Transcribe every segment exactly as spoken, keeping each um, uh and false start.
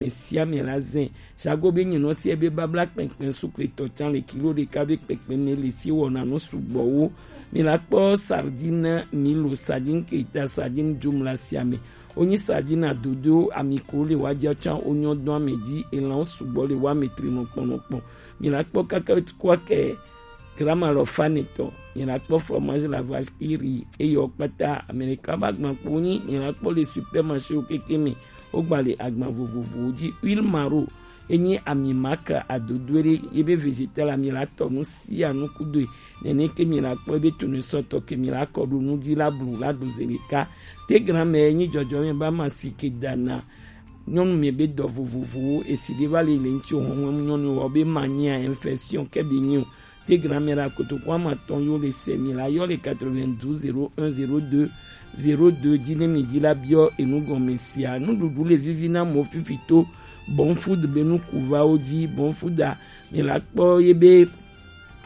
sia mi la zɛn. Sago be nyinɔ sia be babla kpɛnkpɛn sukletɔ can le kilo ɖeka be kpɛnkpɛn mɛ le si wɔna nu sugbɔwo. Mi la kpɔ sardine milo, sardine keta, sardine jumla sia mɛ. Wonyi sardine adodo ami ko le wa ja can wonyɔ dɔn ame ji elan sugbɔ le wa me tri nɔkpɔnɔkpɔn. Mi la kpɔ kaka kua kɛ grama lɔ fanetɔ. Mi la kpɔ fromage la vache qui rit eyɔ kpata Amerika ba gban kpo nyi mi la kpɔ le supermarché wo keke mi. Wo gba le agban vovovowo ji. Huile maro enyi ami maka adodo ɖe ye be vegetal ami la tɔ nu sia nu kudo. Nene ke mi la kpɔ be tunu sɔtɔ ke mi la kɔ ɖo nu ji la blu la ɖo ze ɖeka. Te gramɛ enyi jɔjɔ mi ba ma si ke dana nyɔnu mi be dɔ vovovowo esi ɖe va le le ŋuti o hɔn nyɔnu wɔ be ma nyia infection ke be nyi o. Te gramɛ la kotoku ama tɔn yo le se mi la yɔ le quatre-vingt-douze zéro un zéro deux zéro deux ji ne mi ji la biɔ enu gɔme sia. Nuɖuɖu le vivi na mɔ fifi to Bon Food be nu kuvawo ji. Bon Food a mi la kpɔ ye be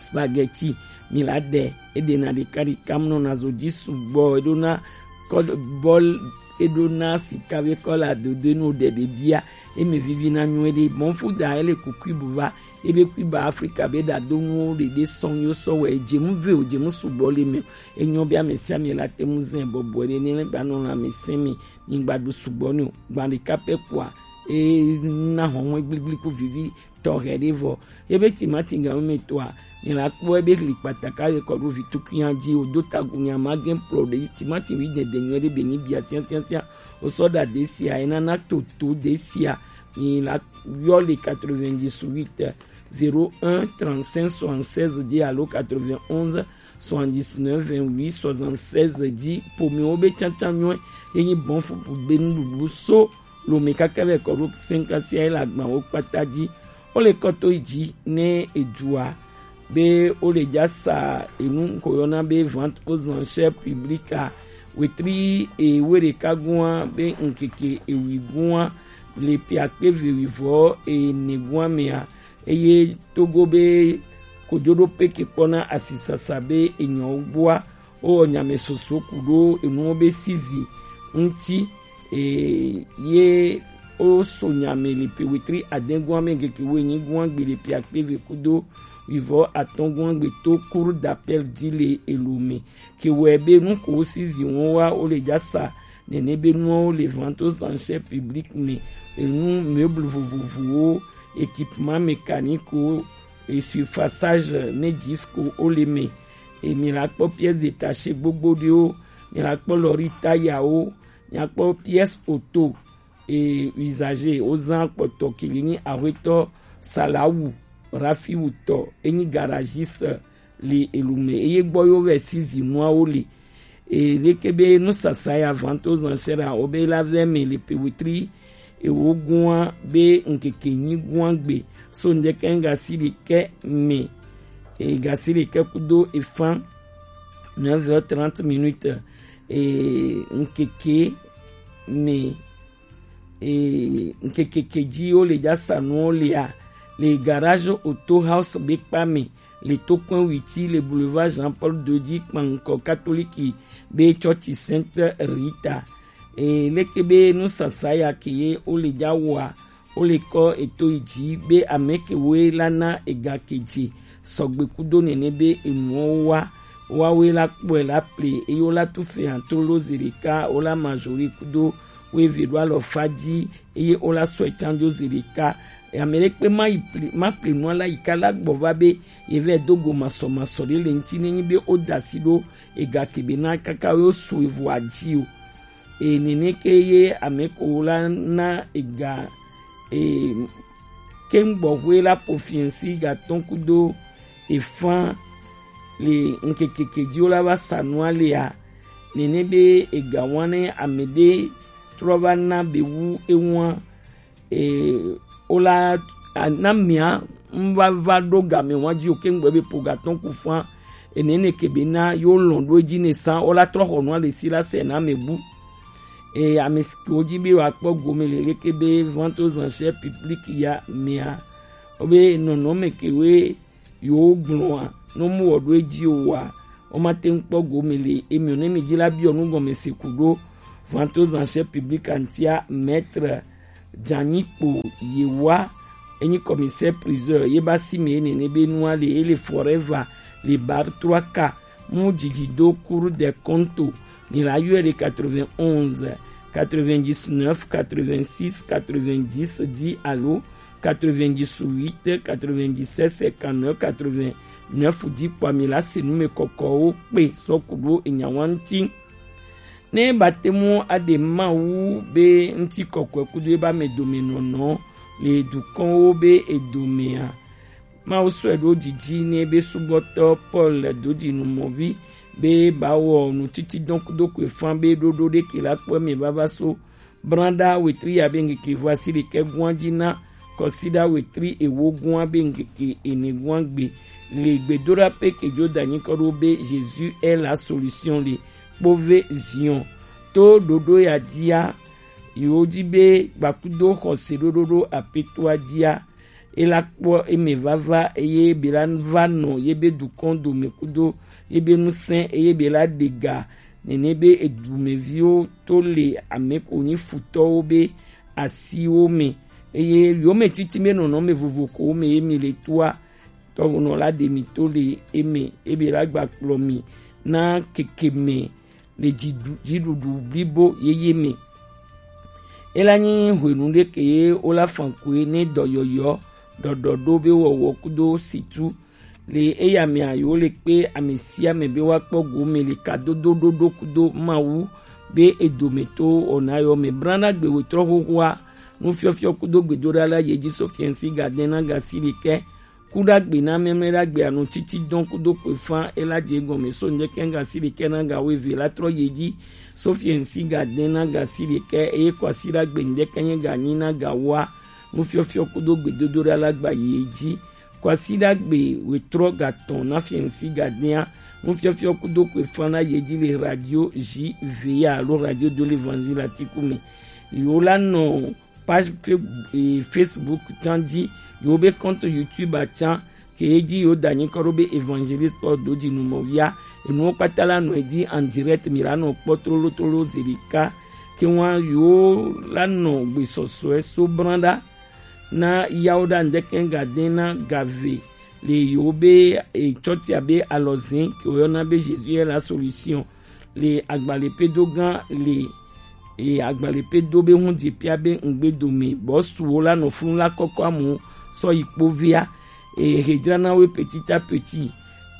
spaghetti mi la ɖe eɖena ɖeka ɖeka mnɔ na zo ji sugbɔ eɖona kɔ bɔl eɖona sika be kɔla dodo enu ɖe ɖe bia eme vivi na nyuie ɖe. Bon Food a ele ku cube va ebe cube Afrika be ɖa do nuwo ɖeɖe sɔn yo sɔ wɛ edzemu ve o edzemu sugbɔ le me o. Enyɔ be ame sia ame la te mu zɛn bɔbɔe ɖe ne ba nɔ ame sɛn mi mi gba ɖu sugbɔ ni o gba ɖeka pɛ kua e na hɔn hɔn gbligbliku vivi tɔxɛ ɖe vɔ. Ebe timati gan me toa mi la kpɔ ebe li kpataka ye kɔ ɖo vi tukunya ji o do tagu nya ma gen pro ɖe timati wi dede nyuie ɖe be nyi bia siasiasia o sɔ ɖa ɖe sia e nana toto ɖe sia mi la yɔ le quatre-vingt-dix-huit zéro un trente-cinq soixante-seize ji alo quatre-vingt-onze soixante-dix-neuf vingt-huit soixante-seize ji pomiwo be cancan nyuie ye nyi Bon Food be nuɖuɖu so lome kaka vɛ kɔ ɖo cinq sia ye le agban wo kpata ji. Wo le kɔ to yi ji ne edzua be wo le ja sa enu ko yɔna be vente aux enchères publiques a wetri ewe ɖeka gua be ŋkeke ewi gua le piakpe ve wivɔ ene gua mea eye togo be kojoɖo peke kpɔna asisasa be enyɔwo gbɔa wowɔ nyame soso ku ɖo enuwo be sizi ŋuti. Eye woso nyame le pe wetri adɛgua me ŋkeke wo enyi gua gbe le pe akpe ve kudo wivɔ atɔgua gbe to cour d'appel di le elo me. Ke wɛ be nu ko sizi wo wa wo le ja sa nene be nuwo le vente aux enchères publiques me enu meuble vovovowo, équipement mécanique wo, essuie-passage ne disque wo le me. E mi la kpɔ pièce détachée gbogbo ɖewo, mi la kpɔ lɔri tayawo, mi la kpɔ pièce auto e usager wozan kpɔtɔ kili nyi ahwetɔ salawu rafiwu tɔ enyi garagiste le elume eye gbɔ yo vɛ si zinuawo le. E leke be nusasa ya vente aux enchères a wo be la vɛ me le pe wetri ewo gua be ŋkeke nyi gua gbe so ŋdeke ŋga si ɖekɛ me. E ga si ɖekɛ kudo efan neuf heures trente minutes. E ŋkeke me e ŋkeke ke ji wo le ja sanuwo lea le garage auto house be kpa me le tokpɛn witi le boulevard Jean Paul deux ji kpankɔ katoliki be tsɔtsi Sainte Rita. E leke be nusasa ya ke ye wo le ja wɔa wo le kɔ eto yi ji be ame ke woe la na ega ke je sɔgbe kudo nene be enuwo wa wa woe la kpɔe la ple eye wo la tu fɛn atrolo ze ɖeka wo la majori kudo wo eve ɖo alɔ fa ji eye wo la sɔe can jo ze ɖeka. Ame ɖe kpe ma yi ple ma ple nua la yi ka la gbɔ va be ye vɛ do go masɔmasɔ ɖe le ŋuti ne nyi be wo da asi ɖo ega ke be na kaka wo su evo aji o. E nene ke ye ame ko la na ega e keŋgbɔxwe la po fiɛnsi gatɔn kudo efan le ŋkekeke ji wo la va sa nua lea nene be ega wan ne ame ɖe trɔ va na be wu ewan e wo la a- na mia ŋva va ɖo game wan ji o keŋgbɔ be po gatɔn ku fan enene ke be na yo lɔn ɖo edzi ne san wo la trɔ xɔ nua le si la se na ame bu. E ame siwo dzi be woakpɔ gome le leke be vente aux enchères publiques ya mea wobe nɔnɔme kewoe yewo gblɔa ne womewɔ ɖo edzi o wa womate ŋu kpɔ gome le emiɔ ne mi dzi la biɔ nu gɔme se ku ɖo vente aux enchères publiques ŋutia maître Janyi kpo yewa, enyi commissaire priseur ye ba si me nene be nua le ele forever le bar trois k mu didi do Cour des comptes. Mi la yɔ le quatre-vingt-onze, quatre-vingt-dix-neuf, quatre-vingt-six, quatre-vingt-dix, dix alo quatre-vingt-dix-huit, quatre-vingt-dix-sept, cinquante-neuf, quatre-vingt-neuf, dix kpo mi la se nu me kɔkɔwo kpe sɔ ku ɖo enyawa ŋuti. Ne batemu aɖe Mawu be ŋuti kɔkɔe kudo ebe ame dome nɔnɔ le dukɔnwo be edome a, Mawu sɔe ɖo didi ne be subɔtɔ Paul do dzi nu mɔvi be ba wɔ nutiti dɔn kudo kɔe fan be ɖoɖo ɖe ke la kpɔ eme vava so Branda wetri ya be ŋkeke vɔ asi ɖekɛ gua dzi na kɔsiɖa wetri ewo gua be ŋkeke ene gua gbe le gbedoɖa pe ke jo da nyikɔ ɖo be Jésus est la solution le kpove Zion. To ɖoɖo ya dia, yewo dzi be gbakudo xɔse ɖoɖo ɖo apetoa dia, e la kpɔ eme vava eye be la va nɔ ye be dukɔn dome kudo ye be nusẽ eye be la ɖe ga nene be edumeviwo to le ame ko nyi futɔwo be asiwo me, eye yome titi me nɔnɔme vovo ko me ye mi le toa, tɔwonɔ la ɖe mi to le eme ebe la gba kplɔ mi na keke me le dziɖu- dziɖuɖu blibo yeye me. Ela nyi hwenu ɖe ke ye wola fankoe ne dɔyɔyɔ ɖɔɖɔ ɖo be wɔwɔ kudo situ le eya mea yewo le kpe ame sia ame be woakpɔ gome le kadodo ɖoɖo kudo Mawu be edometɔwo wɔna yɔ me. Brana gbe wetrɔ xoxoa nufiɔfiɔ kudo gbedoɖa la ye dzi so fiɛnsi gadɛn na gasi ɖekɛ. Kuɖagbe na mɛmlɛ ɖagbe anu titi dɔn kudo kpe fan ela die gɔme so ŋdɛkɛ gasi ɖekɛ na ga weve la trɔ ye dzi so fiɛnsi gadɛn na gasi ɖekɛ eye kɔasi ɖagbe ŋdɛkɛ nye ganyi na ga wa nufiɔfiɔ kudo gbedodoɖa la gba ye dzi. Kwasiɖagbe wetrɔ gatɔn na fiɛnsi gadɛa nufiɔfiɔ kudo kɔe fan na ye dzi le radio J V A alo Radio de l'Évangile Atiku me. Yewo la nɔ page fe- eh, Facebook tsan dzi, yewo be compte YouTube atsan ke ye dzi yewo da nyikɔ ɖo be Évangéliste Paul Dodzi Numɔvia. Enuwo kpata la nɔ edzi en direct, mi la nɔ kpɔ tlolotlolo zi ɖeka. Ke ŋua yewo la nɔ gbesɔsɔe so branda na yawo ɖa ŋdɛkɛ gadɛn na gave le yewo be, e, tsɔtia be alɔzɛn ke woyɔna be Jésus est la solution le agbalẽpedo gã le, e, agbalẽpedo be ŋu dzi pia be ŋgbe dome bɔsuwo la nɔ funu la kɔkɔ amu sɔ yi kpovia, e, hedrana we petit à petit.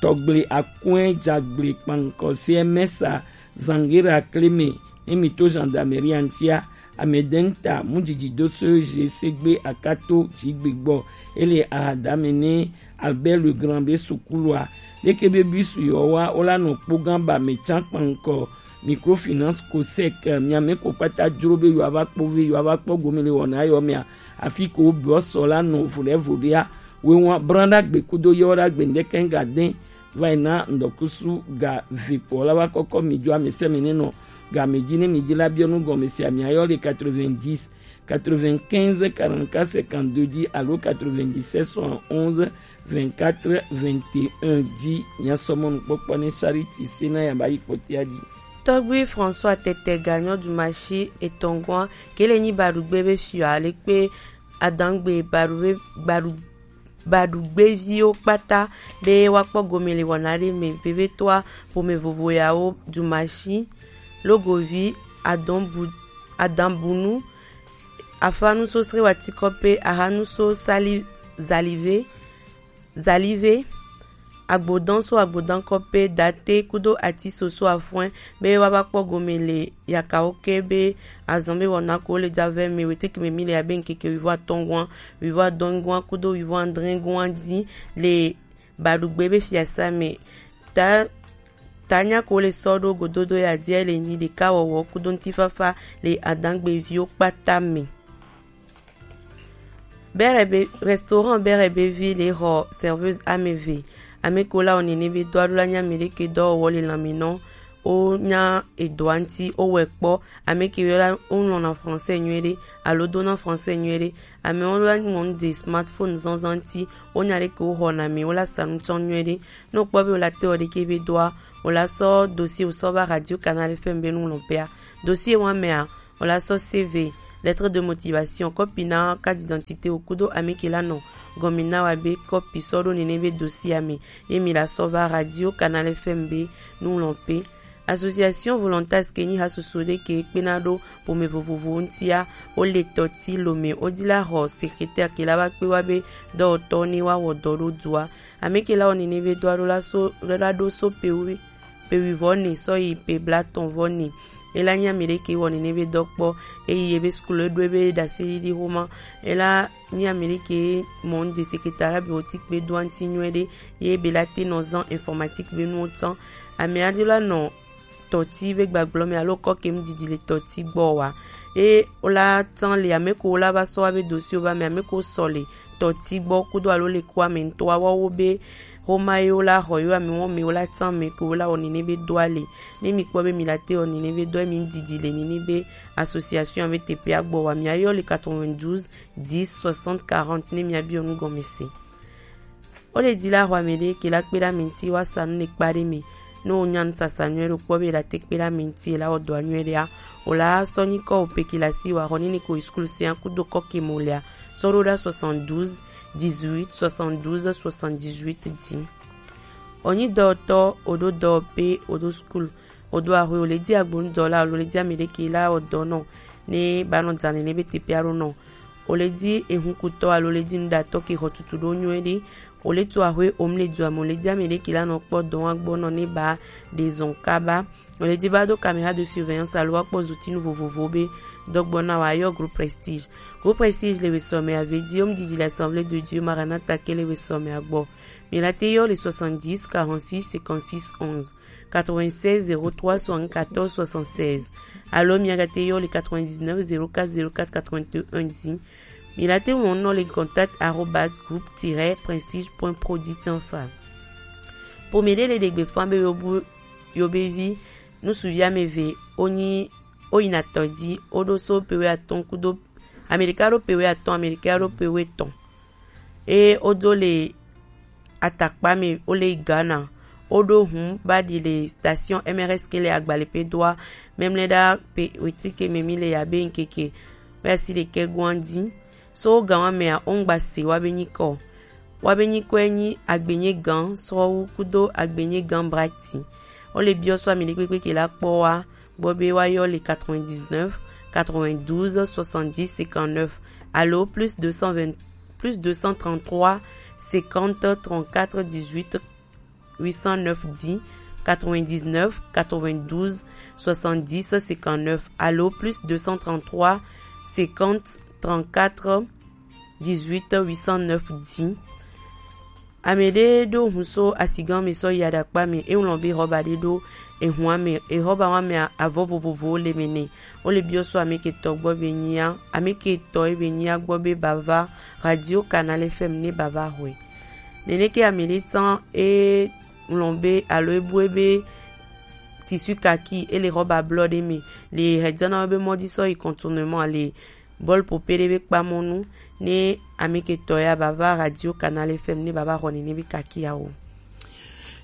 Tɔgble akɔe dzagble kpankɔ se mɛsa zangera kleme ne mi to gendarmerie antia. Ame ɖe ŋta mu dzidzi do so je segbe akato dzigbe gbɔ. Ele ahadame ne Albert Legrand be sukulua. Leke be bisu yɔ wa wola nɔ kpogã ba me tsan kpankɔ microfinance COSEC, miame ko kpata dzro be yewoava kpɔ ve yewoava kpɔ gome le wɔna yɔ mea. Afi ko wobiɔ sɔ la nɔ voɖe voɖea. Wewa branda gbe kudo yɔ ɖa gbe ŋdɛkɛ ŋga dɛn va yi na ŋdɔkusu ga ve kpɔ la va kɔkɔ mi dzo ame sɛme ne nɔ ga me dzi ne mi dzi la biɔ nu gɔme sia mia yɔ le quatre-vingt-dix, quatre-vingt-quinze, quarante-quatre, cinquante-deux dzi alo quatre-vingt-dix-sept, soixante-onze, vingt-quatre, vingt et un dzi. Mia sɔ mɔnukpɔkpɔ ne Charity se na ya ba yi kpɔtia dzi. Tɔgbi François Tɛtɛ ga nyɔ dumasi etɔngɔa kele nyi baɖugbe be fiɔ ale kpe adangbe baɖugbe baɖugbeviwo kpata be woakpɔ gome le wɔna ɖe me. Vevetoa ƒome vovo yawo dumasi, logovi, adɔnbu, adanbunu, afanuso srewatikɔpe, ahanuso sali, zalive, zalive, agbodan so agbodan kɔpe, date kudo ati soso afɔe be woava kpɔ gome le yakawo ke be azan be wɔna ko le dzavɛ me weteke me mi le abe ŋkeke wivɔ atɔngɔa, wivɔ adɔngɔa kudo wivɔ adrɛngɔa dzi le baɖugbe be fiasa me. Ta tanya ko le sɔ ɖo gododo ya dia le nyi ɖeka wɔwɔ kudo ŋutifafa le adangbeviwo kpata me. Bɛrɛ be restaurant bɛrɛ be vi le xɔ serveuse ame eve. Ame ko la wɔ nene be dɔ alo la nya ame ɖeke dɔwɔwɔ le lãme nɔ. Wo nya edɔa ŋuti, wo wɛ kpɔ. Ame ke yɔ la wo ŋlɔna français nyuie ɖe alo dona français nyuie ɖe. Amewo la ŋlɔ nu de smartphone zɔnzɔn ŋuti. Wo nya ɖeke wo xɔna me, wo la sa nu tsɔ nyuie ɖe. Ne wo kpɔ be wo la te wɔ ɖeke be dɔa, wo la sɔ dossier wo sɔ va Radio Canal F M be nu ŋlɔ pea. Dossier wa mea, wo la sɔ C V lettre de motivation, kɔpi na carte d'identité wo kudo ameke la nɔ gɔmi na wa be kɔpi sɔ ɖo nene be dossier a me, ye mi la sɔ va Radio Canal F M be nulɔnpe. Association Volontas ke nyi ha soso ɖe ke kpena ɖo ƒome vovovowo ŋutia, wo le tɔti lome, wo di la xɔ secrétaire ke la va kpe wa be dɔwɔtɔ ne wa wɔ dɔ ɖo dua. Ame ke la wɔ nene be dɔa ɖo la so, la ɖo so pe wi-, pe wuivɔ ne sɔ yi pe blatɔn vɔ ne. E la nyi ame ɖe ke wɔ nene be dɔ kpɔ, e yi ebe skul e ɖo ebe ɖase ɖiɖi xoma. E la nyi ame ɖe ke mɔ ŋde secrétariat be wo ti kpe do aŋti nyuie ɖe, ye be la te nɔ zan informatique be nuwo tsã. Ame aɖe la nɔ tɔti be gbagblɔ me alo kɔ kem didi le tɔti gbɔ wa. E wo la tsã le ame ko wo la va sɔ wa be dossier wo va me, ame ko sɔ le tɔti gbɔ kudo alo le kua me ŋutɔ wa wo be xoma ye wo la xɔ yo ame wo me wo la tsã me ko wo la wɔ nene be dɔa le. Ne mi kpɔ be mi la te wɔ nene be dɔa mi didi le nene be association ave teƒea gbɔ wa mi ayɔ le quatre-vingt-douze dix soixante quarante ne mi abiɔ nu gɔme se. Wo le di la xɔ ame ɖe ke la kpe ɖe ame ŋuti wa sa nu ne kpa ɖe me. Ne wo nya nu sasa nyuie ɖo kpɔ be la te kpe ɖe ame ŋuti la wɔ dɔa nyuie ɖea, wo la sɔ nyi kɔ wo pe ke la si wa xɔ nene ko yi skul sia kudo kɔ ke mo lea, sɔ ɖo ɖa soixante-douze dix-huit soixante-douze soixante-dix-huit di. Onyi dɔwɔtɔ, oɖo dɔwɔƒe, oɖo skul, oɖo axwe, ole di agbonudɔla, ole di ame ɖe ke la wɔ dɔ nɔ ne ba nɔ dza nene be teƒe aɖo nɔ. Ole di ehunkutɔ alo ole di nuɖatɔ ke xɔ tutu ɖo nyuie ɖe. Ole tu axwe omle dua me, ole di ame ɖe ke la nɔ kpɔ dɔ wa gbɔ nɔ ne ba ɖe zɔn kaba. Ole di ba do caméra de surveillance alo wa kpɔ zutinu vovovo be dɔgbɔ na wa yɔ Groupe Prestige. Groupe Prestige le wesɔ me ave di, omdidi le Assemblée de Dieu Maranatha ke le wesɔ me agbɔ. Mi la te yɔ le soixante-dix quarante-six cinquante-six onze, quatre-vingt-seize zéro trois soixante-quatorze soixante-seize. Alo mi aga te yɔ le quatre-vingt-dix-neuf zéro quatre zéro quatre quatre-vingt-un di. Mi la te ŋlɔ nɔ le contact arobase groupe tiret prestige point pro di tian fa. Ƒome ɖe le ɖe gbeƒã be yo bu yo be vi nusuvi ame eve wonyi woyina tɔ dzi, woɖo so pe wuiatɔ̃ kudo ame ɖeka ɖo pe wuiatɔ̃, ame ɖeka ɖo pe wuietɔ̃. Eye wodo le atakpa me, wole yi Ghana. Woɖo hũ ba ɖi le station M R S ke le Agbalepe doa, memle ɖa pe wetri ke me mi le ya be ŋkeke be asi ɖekɛ goa dzi. So gan wa mea, wo ŋgba se wa be nyikɔ. Wa be nyikɔe nyi Agbenye Gan Srɔwu kudo Agbenye Gan Brati. Wole biɔ so ame ɖekpekpe ke la kpɔ wa gbɔ be wa yɔ le quatre-vingt-dix-neuf quatre-vingt-douze soixante-dix cinquante-neuf alo plus deux cent vingt, plus deux cent trente-trois cinquante trente-quatre dix-huit huit cent neuf di, quatre-vingt-dix-neuf quatre-vingt-douze soixante-dix cinquante-neuf alo plus deux cent trente-trois cinquante trente-quatre dix-huit huit cent neuf di. Ame ɖe ɖo hũ so asigan me sɔ yi aɖakpa me, e ŋlɔ be xɔba ɖe ɖo ehũa me, exɔba wa me avɔ vovovowo le me nɛ. Wole biɔ so ame ke tɔ gbɔ be nyia, ame ke tɔ ye be nyia gbɔ be ba va Radio Canal F M ne ba va xɔe. Nene ke ame ɖe tsã e ŋlɔ be alo e bue be tissu kaki e le xɔba blɔ ɖe me le hedzana be mɔdi sɔ yi contournement le bɔl pope ɖe be kpamɔnu ne ame ke tɔ ya ba va Radio Canal F M ne ba va xɔ nene be kaki ya o.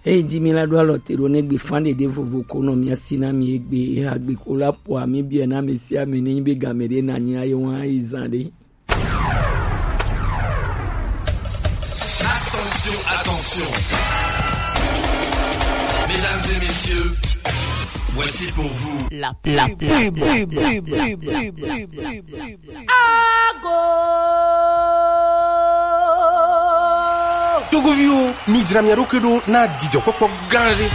Eyi di mi la ɖo alɔ te ɖo ne gbe fan ɖeɖe vovo ko nɔ mia si na mi egbe eha gbe ko la po ami biɛ na mi si ame ne nyi be game ɖe na nyi aye wa yi zan ɖe. Attention, attention. Mesdames et messieurs, voici pour vous la pub. La pub. Ago. Togoviwo, mi dzra mia ɖokui ɖo na dzidzɔkpɔkpɔ gã ɖe.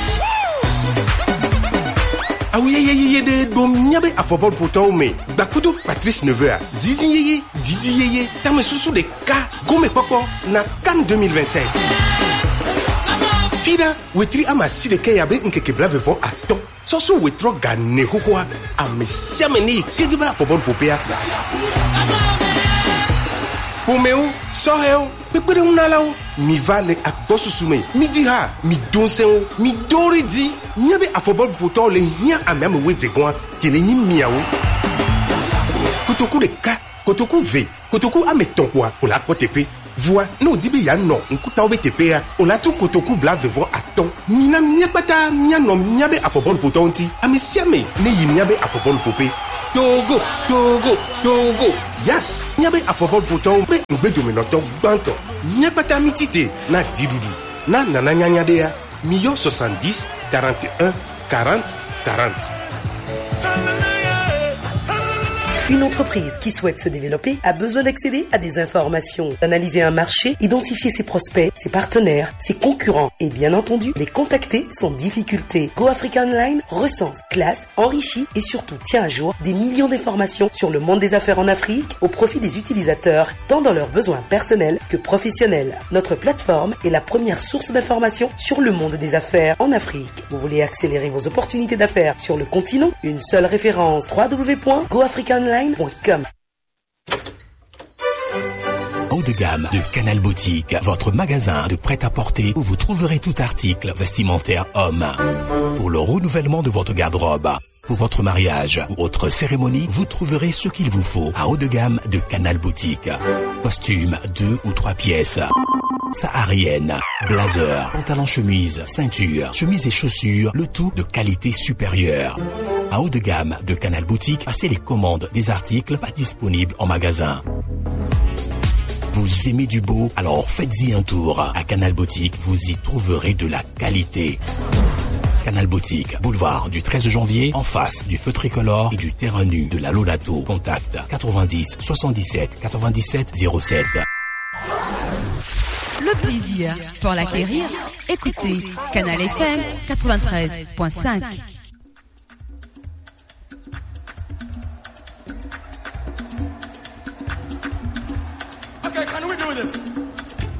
Awu yeye yeye ɖe ɖo míabe afɔbɔlupotɔwo me. Gbakudo Patrice Neveu a, zizi yeye, didi yeye, tamesusu ɖeka, gomekpɔkpɔ na CAN deux mille vingt-sept. Fiɖa wetri ama si ɖekɛ ya be ŋkeke blaeve vɔ atɔ̃. Sɔsɔ wetrɔ ga ne xoxoa, ame sia ame ne yi kege be afɔbɔluƒoƒea. Ƒomewo, sɔhɛwo, kpekpeɖeŋunalawo, mi va le agbɔsusu me. Mi di ha, mi do ŋsɛwo, mi do ɖe dzi. Míabe afɔbɔluƒotɔwo le hiã ame ame wuieve gɔ̃a, ke le nyi miawo. Kotoku ɖeka, kotoku ve, kotoku ame etɔ̃ kpoa, wòle akpɔ teƒe. Vɔa, ne wòdi be yeanɔ ŋkutawo be teƒea, wòle atu kotoku blaeve vɔ atɔ̃. Mina míakpata míanɔ míabe afɔbɔluƒotɔwo ŋuti. Ame sia ame neyi míabe afɔbɔluƒoƒe. Togo, Togo, Togo. Yes, míabe afɔbɔlupotɔwo be ŋugbedomenɔtɔ gbãtɔ. Míakpata mítite na dziɖuɖu, na nana nyanya ɖea. Miyɔ soixante-dix, quarante et un, quarante, quarante. Une entreprise qui souhaite se développer a besoin d'accéder à des informations, d'analyser un marché, identifier ses prospects, ses partenaires, ses concurrents et bien entendu les contacter sans difficulté. Go Africa Online recense, classe, enrichit et surtout tient à jour des millions d'informations sur le monde des affaires en Afrique au profit des utilisateurs, tant dans leurs besoins personnels que professionnels. Notre plateforme est la première source d'information sur le monde des affaires en Afrique. Vous voulez accélérer vos opportunités d'affaires sur le continent ? Une seule référence, trois w point go africa online point com. Haut de gamme de Canal Boutique, votre magasin de prêt-à-porter où vous trouverez tout article vestimentaire homme. Pour le renouvellement de votre garde-robe, pour votre mariage ou autre cérémonie, vous trouverez ce qu'il vous faut à haut de gamme de Canal Boutique. Costume deux ou trois pièces, saharienne, blazer, pantalon chemise, ceinture, chemise et chaussures, le tout de qualité supérieure. À haut de gamme de Canal Boutique, passez les commandes des articles pas disponibles en magasin. Vous aimez du beau ? Alors faites-y un tour. À Canal Boutique, vous y trouverez de la qualité. Canal Boutique, boulevard du treize janvier, en face du feu tricolore et du terrain nu de la Lolato. Contact quatre-vingt-dix soixante-dix-sept quatre-vingt-dix-sept zéro sept. Le plaisir pour l'acquérir, écoutez Canal F M quatre-vingt-treize point cinq.